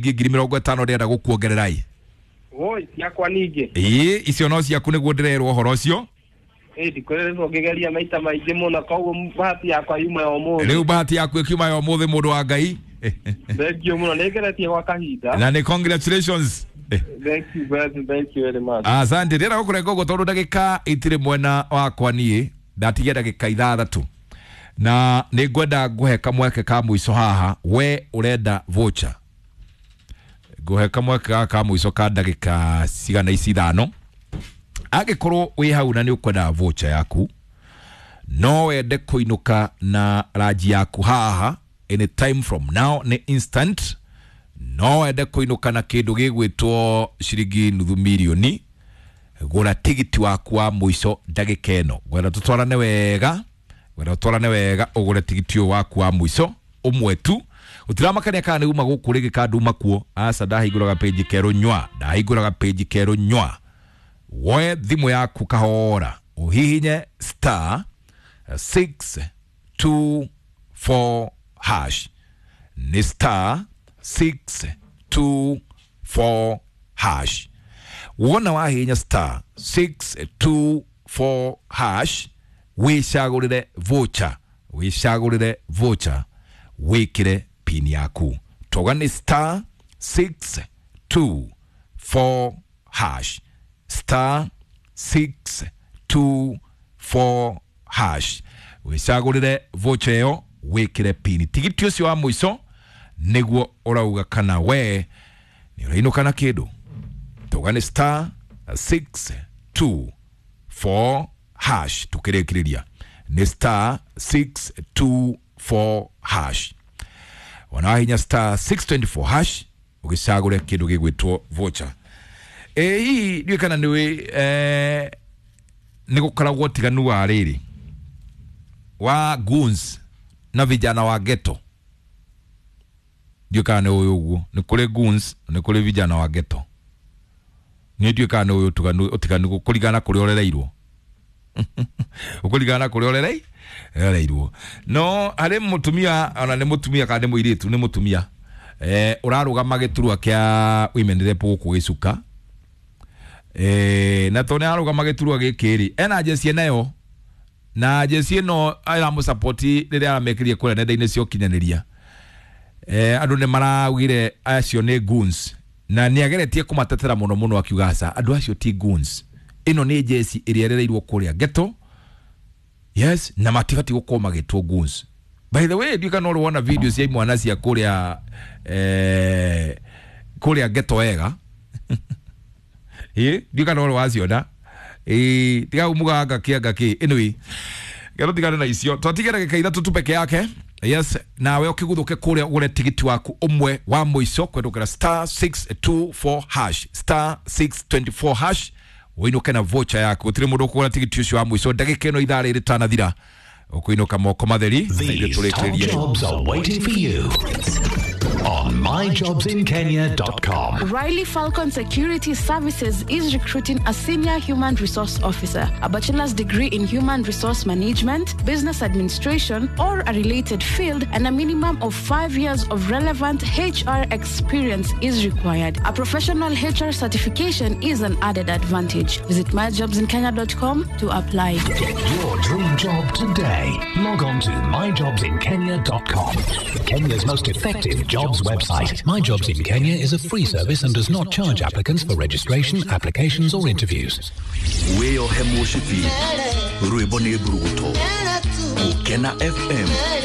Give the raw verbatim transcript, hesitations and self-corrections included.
Ngiri mĩrongo ĩtano ndĩrenda gũkuongerera ĩ. Woi, ciakwa ningĩ. Ĩĩ, icio no ciaku nĩguo ndĩrerwo ũhoro ũcio. Ĩ, ndikoretwo ngĩgeria maita maingĩ mũno, koguo bahati yakwa yuma ya ũmũthĩ. Rĩu bahati yaku ĩkiuma ya ũmũthĩ, mũndũ wa Ngai. Thank you mũno, nĩngeretie gwa kahinda. Na nĩ congratulations. Thank you very, thank you very much. Asante. Ndĩrenda gũkũrenga ũguo tondũ ndagĩka itirĩ mwena wakwa niĩ, ndatigia ndagĩka ithathatũ na nĩ ngwenda ngũhe kamweke ka mũico haha. We ũrenda voucher, ngũhe kamweke gaka ka mũico ka ndagĩka cigana ici ithano. Angĩkorwo wĩ hau na nĩ ũkwenda voucher yaku, no wende kũinũka na ranji yaku haha any time from now, nĩ instant. No wende kũinũka na kĩndũ gĩgwĩtwo ciringi nuthu mirioni, gũra tigiti waku wa mũico ndagĩka ĩno. Ngwenda tũtwarane wega, ngwenda tũtwarane wega, ũgũre tigiti ũyũ waku wa mũico ũmwe tu. Gũtiramakania kana nĩ uma gũkũ rĩngĩ kana nduma kuo. Aca, ndahingũraga page kerũ nywa, ndahingũraga page kerũ nywa. Woe thimũ yaku kahora, ũhihinye star six two four hash. Nĩ star six two four hash. Wona wahihinya star six two four hash, wĩcagũrĩre voucher, wĩcagũrĩre voucher, wĩkĩre pin yaku. Toga nĩ star six two four hash, star six two four hash, wĩcagũrĩre voucher ĩyo, wĩkĩre pin. Tigiti ũcio wa mũico nĩguo ũrauga kana we nĩ ũrainũka na kĩndũ. Toga nĩ star six two four hash. Tukĩrĩkĩrĩria nĩ star six two four hash. Wona wahinya star six two four hash, ũgĩcagũre kĩndũ gĩgwĩtwo voucher. Ĩ hihi ndiũĩ kana nĩwĩ eh, nĩ gũkoragwo ũtiganu wa rĩrĩ wa goons na vijana wa ghetto. Ndiũĩ kana nĩ ũĩ ũguo, nĩ kũrĩ goons, nĩ kũrĩ vijana wa ghetto. Niĩ ndiũĩ kana nĩ ũĩ ũtiganu ũtiganu kũringana na kũrĩa ũrereirwo, ũkũringana na kũrĩa ũrerei ũrereirwo. No harĩ mũtumia, ona nĩ mũtumia kana nĩ mũirĩtu, nĩ mũtumia eh, ũrarũgama gĩturwa kĩa women rep gũkũ gĩcuka eh, na tondũ nĩ ararũgama gĩturwa gĩkĩ rĩ, ena jeci nayo, na jeci ĩno ĩramũsapoti rĩrĩa aramekĩrie kũrĩa nenda-inĩ cia ũkinyanĩria. eh, andũ nĩ maraugire acio nĩ goons, na nĩ ageretie kũmatetera mũno mũno akiuga aca, andũ acio ti goons, ĩno nĩ jeci ĩrĩa ĩrereirwo kũrĩa ghetto, yes, na matibati gũkorwo magĩtwo goons. By the way, ndiũĩ kana ũrĩ wona video cia imwana cia kũrĩa eh, kũrĩa ghetto wega. Ĩ, ndiũĩ kana ũrĩ waciona. Ĩ, tiga umuga ngaki ngaki. Anyway, gero tigane na icio, twatige ndagĩka ithatũ tu peke yake. Yes, nawe ũkĩguthũke kũrĩa ũgũre tigiti waku ũmwe wa mũico kũhetũkĩra star six two four hash, star six two four hash, ũinũke na voucher yaku. Gũtirĩ mũndũ ũkũgũra tigiti ũcio wa mũico ndagĩka ĩno ithaa rĩrĩ rĩtanathira, ũkũinũka moko matheri na ithuĩ These top tũrĩkĩrĩrie. Jobs are waiting for you on my jobs in kenya dot com. Riley Falcon Security Services is recruiting a senior human resource officer, a bachelor's degree in human resource management, business administration, or a related field, and a minimum of five years of relevant H R experience is required. A professional H R certification is an added advantage. Visit my jobs in kenya dot com to apply. Get your dream job today. Log on to my jobs in kenya dot com. Kenya's most effective jobs website. My Jobs in Kenya is a free service and does not charge applicants for registration, applications, or interviews. Wĩyohe mũcibi, rwĩmbo nĩ mburuguto. Gũkena F M.